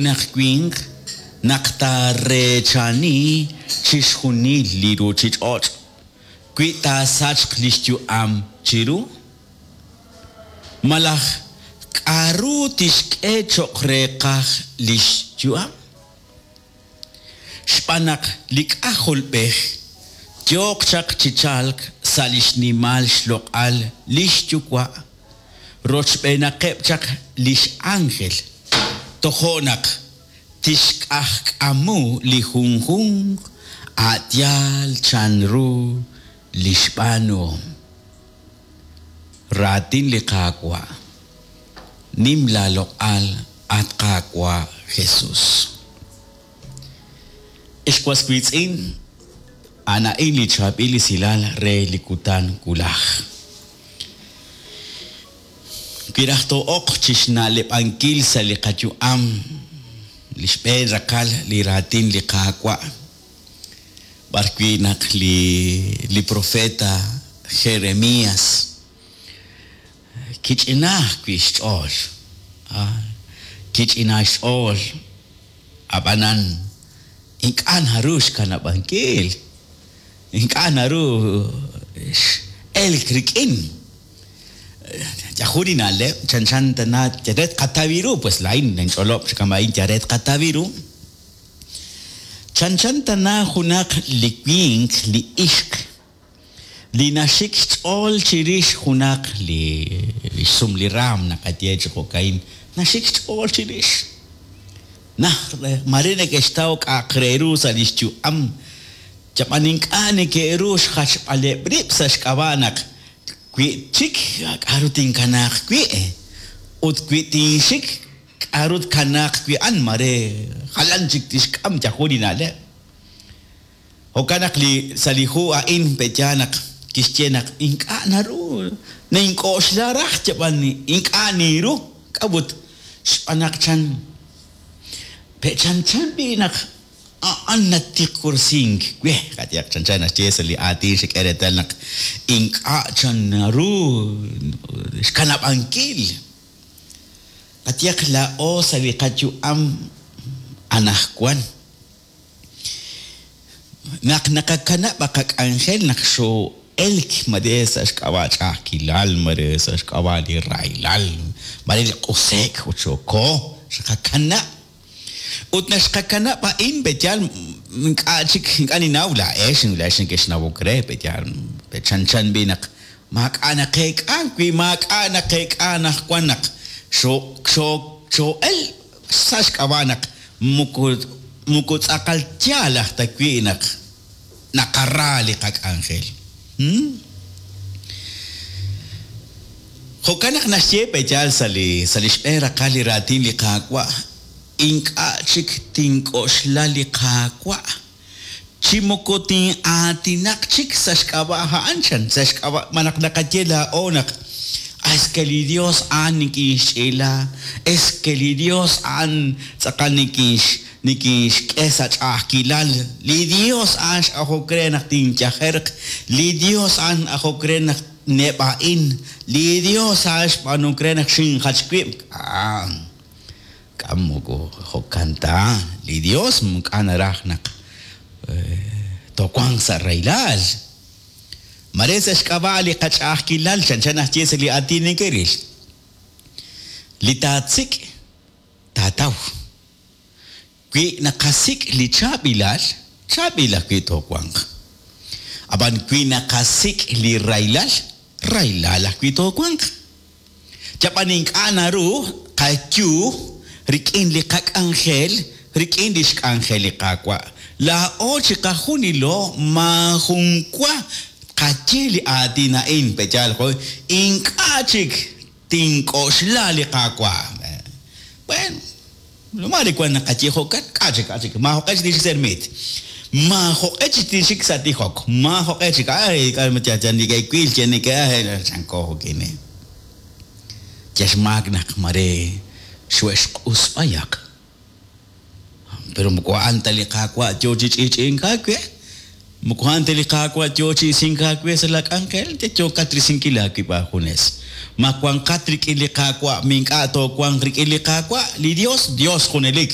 Junaq winq naq taareechani chixjunil li ruuchich'och' wi taasachq li xyu'am chiru? Malaj k'aru tixk'e cho'q reeqaj li xyu'am? Xb'aan naq li K'ajolb'ej yooq chaq chi chalk sa' li xnimal xloq'al li xYuwa' rochb'eenaqeb' chaq li x'ánjel, tojo' naq tixk'ajk'amu li junjunq a' yaal chanru li xb'aanuhom. Raatin li Qaawa'. Nim laaloq'al, at Qaawa' Jesus. Ex was wiitz'in, a'an a'in li chaab'il esilal re li kutan wulaj. Wi raj too'oq chixna'leb'ankil sa' li qayu'am li xb'een raqal li raatin li Qaawa', b'ar wi' naq li li profeta Jeremias kich'ina ajwi' xch'ool, kich'ina xch'ool, ab'anan ink'a' naru xkanab'ankil, ink'a' naru x'elk rik'in. Yajun li na'leb' chanchan tana yal re tqataw ru, pues laa'in ninch'olob' chi kama'in yal re tqataw ru. Chanchan tana junaq li winq, li ixq, li naxik xch'ool chirix junaq li xsum li raam naqaye chi jo'ka'in, naxik xch'ool chirix. Naj maare neke'xtaw k'a'aq re ru sa' li xyu'am, yab'an ink'a' neke'ru xjachb'aleb' rib' sa' xk'ab'a' naq wi txik k'aru tinkanaaq wi' ut wi tinxik k'aru tkanaaq wi' a'an, maare jalan chik tixk'am yajun li na'leb'. Jo'kan naq li sa' li hu a'in pe'yaal naq kixye naq ink'a' naru nink'oxla raj yab'an ink'a' ninru. K'a'ut? Xb'aan naq chan pe' chanchan b'i' naq a'an natiqorsink we. Qayehaq chanchan naxye sa' li aatin xek'e reetal naq ink'a' chan naru xkanab'ankil. Qayehaq laa'o sa' li qayu'am anajwan. Naq naqakanab' qak'anjel naq xoo'elk mare sa' xk'ab'a' ch'a'ajkilal, mare sa' xk'ab'a' li rahilal, mare li q'use'k ut xooko, xqakanab'. Ut naq xqakanab' a'in, pe'yaal ink'a' chik, ink'a' ninnaw laa'ex, laa'ex nekexnawok re, pe'yaal chanchan b'i' naq maak'a' naqeek'a, wi maak'a' naqeek'a anaqwan naq xoo'el sa' xk'ab'a' naq moko moko tz'aqal yaal aj ta wi' naq naqara li qak'anjel. Jo'kan naq naxye pe'yaal sa' li sa' li xb'een raqal li raatin li Qaawa', Ink'a' chik tink'oxla li Qaawa'. Chi moko tin'aatinaq chik sa' xk'ab'a' a'an, chan, sa' xk'ab'a' malaj naqaye laa'o naq, Es que li Dios a'an nikinxch'iila, es que li Dios a'an tz'aqal nikinxk'e sa' ch'a'ajkilal, li Dios a'an x'ajok re naq tinyajerq, li Dios a'an x'ajok re naq neb'a'in, li Dios a'an xb'aanunk re naq xinjach wib'. K'a' moko jo'kan ta, li Yos ink'a' naraj naq toowanq sa' rahilal. Mare sa' xk'ab'a' li qach'a'ajkilal chanchan naxye sa' li aatin neke'ril, Li taatsik' taataw. Wi naqasik' li chaab'ilal, chaab'il ajwi' toowanq. Ab'an wi naqasik' li rahilal, rahilal ajwi' toowanq. Yab'an ink'a' naru qayu rik'in li qak'anjel rik'in lix k'anjel li Qaawa'. Laa'o chiqajunilo maajun wa tqaye li aatin a'in, pe'yaal jo' ink'a' chik tink'oxla li Qaawa'. Bueno, maare wan naqaye jo'kan, k'a' chik, k'a' chik, maajoq'e chik tinxik sa' ermiit. Maajoq'e chik tinxik sa' tijok. Maajoq'e chik, ay, k'a' yal neke'wil, yal neke', chanko jo'kin. Yal xmaak naq mare xwe'xq'us b'ayaq. Pero moko a'an ta li Qaawa' yoo chi ch'i'ch'i'ink aawe. Moko a'an ta li Qaawa' yoo chi isink aawe sa' laa k'anjel, yal yookat risinkil aawib' aajunes. Ma wanqat rik'in li Qaawa' mi ink'a' toowanq rik'in li Qaawa'? Li Dios, Dios junelik.